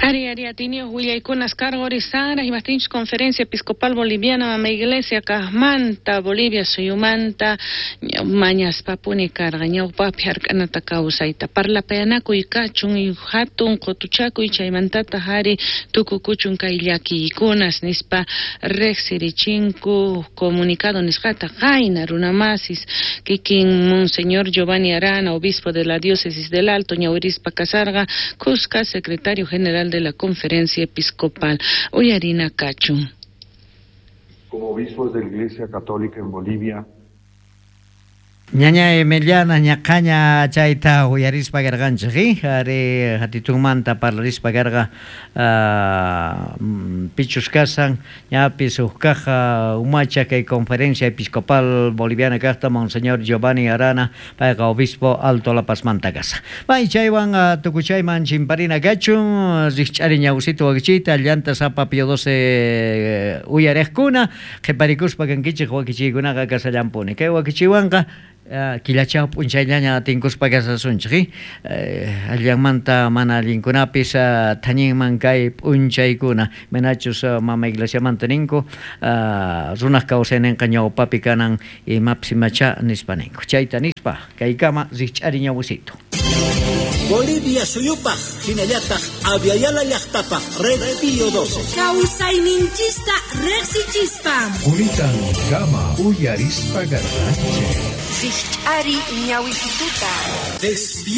Ari, ari, atiniyoj willaykunas karqa Sara, imaptinchus Conferencia Episcopal Boliviana Mama Iglesia kajmanta, Bolivia suyumanta, mañaspapuni karqa, ñawpapi hark'anata kawsayta, parlapayanakuy kachun, hatun qutuchakuy chaymantataq ari tukukuchun kay llakiykunas nispa riqsirichinku comunicado nisqata qayna runamasis kikin Monseñor Giovanni Arana, obispo de la diócesis del Alto, ñawirispa kasarqa, Cusca, secretario general de la Conferencia Episcopal. Uyarina kachun. Como obispos de la Iglesia Católica en Bolivia, Ñaña Emiliana ñaqaña chayta uyarispa karqanchik, ari hatitunmanta parlarispa karqa pichus kasan ñapis huk kaq umacha kay Conferencia Episcopal Boliviana kaqta Monseñor Giovanni Arana payqa obispo Alto La Pazmanta kasa. May chaywan tukuchayman chimparina kachun rikch'ari ñawsita wakichiyta llanta sapa Pío 12 uyariqkuna qhiparikuspa kankichik wakichiykunaqa kasallampuni. Kay wakichiywanqa killachaw p'unchayllaña tinkuspa kasasunchik, allanmanta mana allinkunapis thañinman kay p'unchaykuna manachus mama iglesiamanta ninku runaq kawsayninqa ñawpapi kanan imapis imacha nispa ninku chayta nispa kaykama rikch'ari ñawsito. Bolivia suyupaj hinallataq Aviala llaqtapaj Red Pío 12. Kawsayninchista riqsichispa. Kunitan kama uyarispa garranchik. Rikch'ari ñawisituta.